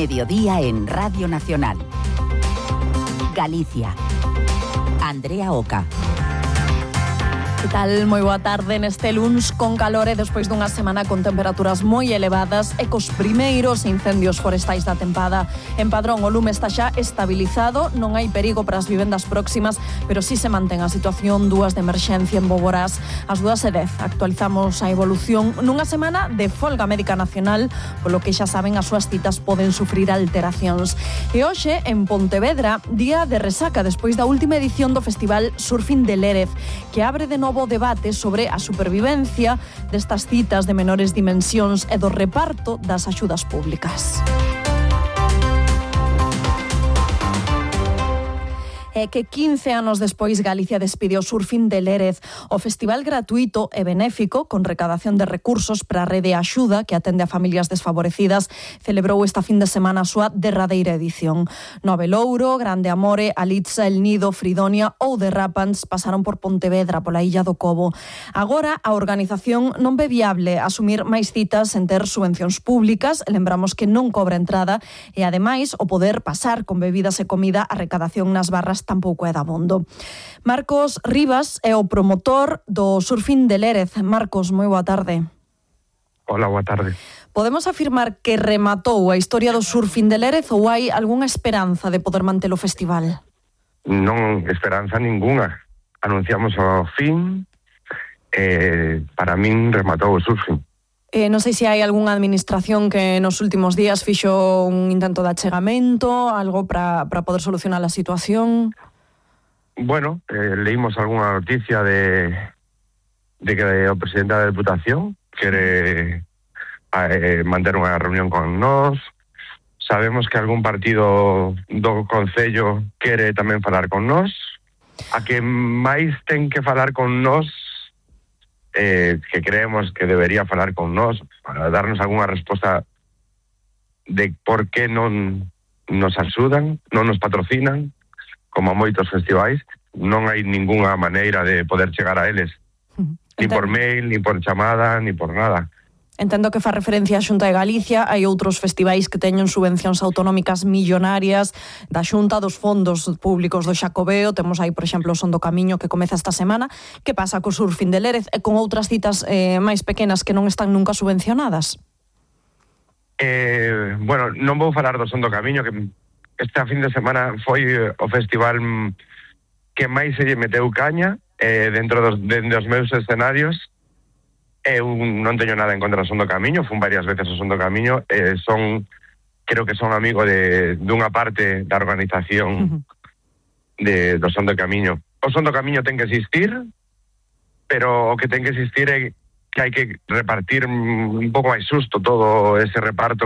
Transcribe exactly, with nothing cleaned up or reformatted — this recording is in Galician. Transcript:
Mediodía en Radio Nacional. Galicia. Andrea Oca. Que tal? Moi boa tarde neste luns con calor e despois dunha semana con temperaturas moi elevadas e cos primeiros incendios forestais da tempada. En Padrón o lume está xa estabilizado, non hai perigo para as vivendas próximas, pero si se mantén a situación dúas de emerxencia en Boborás. As dúas e dez actualizamos a evolución nunha semana de folga médica nacional, polo que xa saben as súas citas poden sufrir alteracións. E hoxe en Pontevedra, día de resaca despois da última edición do Festival Surfing de Lérez, que abre de novo debate sobre a supervivencia destas citas de menores dimensións e do reparto das axudas públicas. É que quince anos despois Galicia despide o Surfing de Lérez, o festival gratuito e benéfico con recadación de recursos para a rede Axuda que atende a familias desfavorecidas celebrou esta fin de semana a súa derradeira edición. Nove Louro, Grande Amore, Alitza, El Nido, Fridonia ou Derrapants pasaron por Pontevedra, pola Illa do Cobo. Agora a organización non ve viable asumir máis citas sen ter subvencións públicas, lembramos que non cobra entrada e ademais o poder pasar con bebidas e comida a recadación nas barras tampouco é dabondo. Marcos Rivas é o promotor do Surfing de Lérez. Marcos, moi boa tarde. Hola, boa tarde. Podemos afirmar que rematou a historia do Surfing de Lérez ou hai algunha esperanza de poder manter o festival? Non esperanza ningunha. Anunciamos o fin e para min rematou o surfing. Eh, non sei se hai algunha administración que nos últimos días fixo un intento de achegamento, algo para para poder solucionar a situación. Bueno, eh, leímos algunha noticia de de que o presidente da Deputación quere eh, manter unha reunión con nós. Sabemos que algún partido do Concello quere tamén falar con nós. A que máis ten que falar con nós, Eh, que creemos que debería falar con nós para darnos algunha resposta de por que non nos axudan, non nos patrocinan, como a moitos festivais. Non hai ningunha maneira de poder chegar a eles, Entendo. ni por mail, ni por chamada, ni por nada. Entendo que fa referencia á Xunta de Galicia, hai outros festivais que teñen subvencións autonómicas millonarias da Xunta, dos fondos públicos do Xacobeo, temos aí, por exemplo, o Son do Camiño que comeza esta semana. Que pasa co Surfing de Lérez e con outras citas eh, máis pequenas que non están nunca subvencionadas? Eh, bueno, non vou falar do Son do Camiño, que esta fin de semana foi o festival que máis se lle meteu caña eh, dentro dos, de, dos meus escenarios. Eu non teño nada en contra do Son do Camiño, fun varias veces ao Son do Camiño, eh, son, creo que son amigo de dunha parte da organización uh-huh. de, do Son do Camiño. O Son do Camiño ten que existir, pero o que ten que existir é que hai que repartir un pouco máis xusto todo ese reparto